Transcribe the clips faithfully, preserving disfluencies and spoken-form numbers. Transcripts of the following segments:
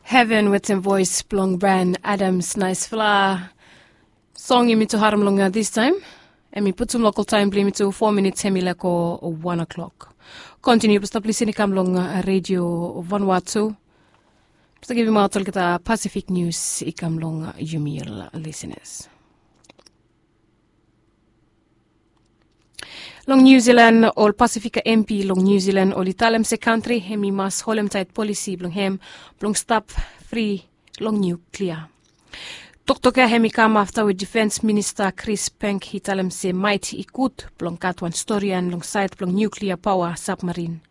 Heven wetem voes blong Brian Adams, naesfala song yumi tu harem long distaem. Em i putum lokal taem blong yumi tu fo minits hem i laek go wan o'klok. Kontiniu blong stap lisin i kam long redio Vanua tu blong stap givimaot olgeta Pasifik nius i kam long yumi ol lisinas. Long Niu Zilan, ol Pasifika M P long Niu Zilan oli talem se kantri hem i mas holemtaet polisi blong hem blong stap fri long niuklia. Toktok ya hem i kam afta we difens minista Kris Penk i talem se maet i gud blong gat wan storian long saed blong niuklia paoa sabmarin.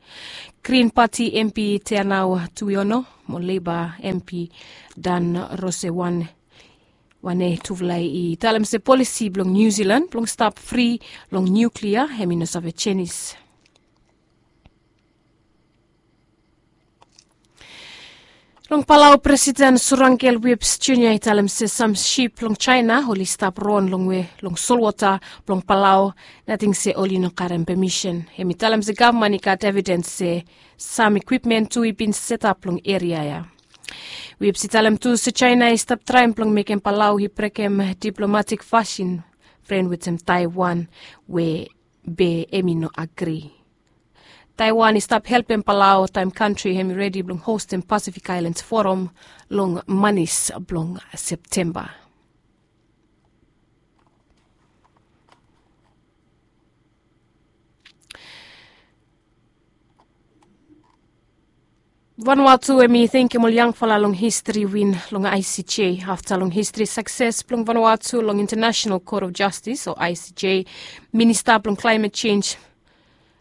Grin Pati M P Teanau Tuiono mo Leba M P Dan Rosewan, wane tufala i talem se polisi blong Niu Zilan blong stap fri long niuklia hem i no save jenis. Long Palau, Presiden Surangel Whipps Junior i talem se sam sip blong Jaena oli stap ron long we long solwota blong Palau, nating se oli no karem pemisen. Hem i talem se gavman i gat evidens se sam ikwipmen tu i bin setap long eria ya. Whipps i talem tu se Jaena i stap traem blong mekem Palau i brekem diplomatik fasin fren wetem Taewan we be hem i no agri. Taewan i stap helpem Palau taem kantri hem i redi blong hostem Pasifik Aelans Foram long manis blong Septemba. Vanuatu hem i tenkem ol yangfala long histri win long I C J afta long histri sakses blong Vanuatu long International Court of Justice o I C J. Minista blong Climate Change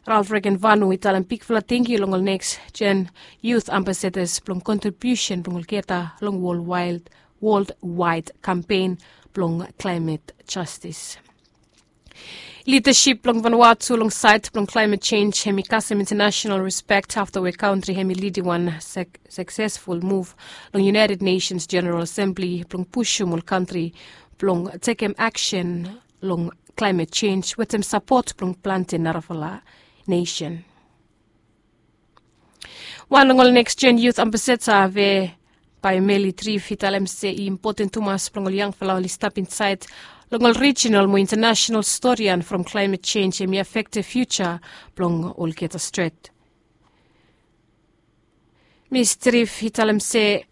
Ralph Regenvanu i talem bigfala tangkiu long ol neks jen youth ambassadors blong kontribiusen blong olgeta long worldwide, worldwide kampen blong climate justice. Lidasip blong Vanuatu long saed blong climate change hem i kasem international respect afta we kantri hem i lidim wan suk- suksesful muv long United Nations General Assembly blong pusum ol kantri blong tekem aksen long climate change wetem sapot blong plante narafala nesen. Wan long ol neks jen youth ambassador we bae Meli Trif i talem se i impoten tumas blong ol yangfala oli stap insaed long ol rijinal mo international storian from climate change hem i afektem fiuja blong olgeta stret. Mis Trif i talem se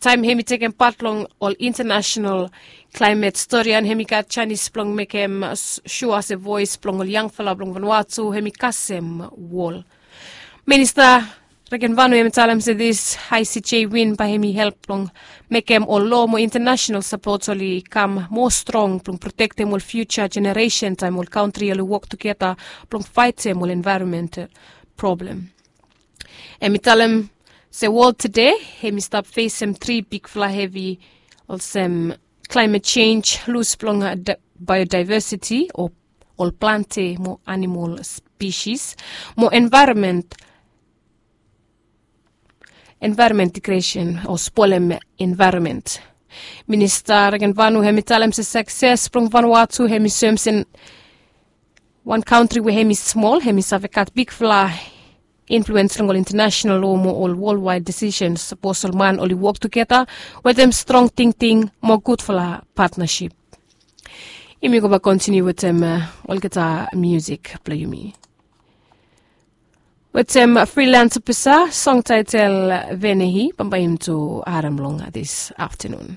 taem hem i tekem pat long ol international climate storian hem i gat janis blong mekem sua se voes blong ol yangfala blong Vanuatu hem i kasem wol. Minista Regenvanu hem i talem se dis I C J win bae hem i help blong mekem ol loa mo international sapot oli kam moa strong blong protektem ol fiuja jeneresen taem ol kantri oli wok tugeta blong faetem ol envaeronmental problem. Hem i talem se wol tede hem i stap fesem tri bigfala hevi olsem climate change, lus blong biodiversity o ol plante mo animal spesis mo envaeronment, envaeronment digresen o spolem envaeronment. Minista Regenvanu hem i talem se sakses blong Vanuatu hem i soem se wan kantri we hem i smol hem i save gat bigfala influens long ol international loa mo ol wolwaed desisens sapos ol man oli wok tugeta wetem strong tingting mo gudfala patnasip. Yumi go bae kontiniu wetem olgeta musik blong yumi. Wetem frilans pisa song taetel Venehi bambae yumi tu harem long dis aftanun.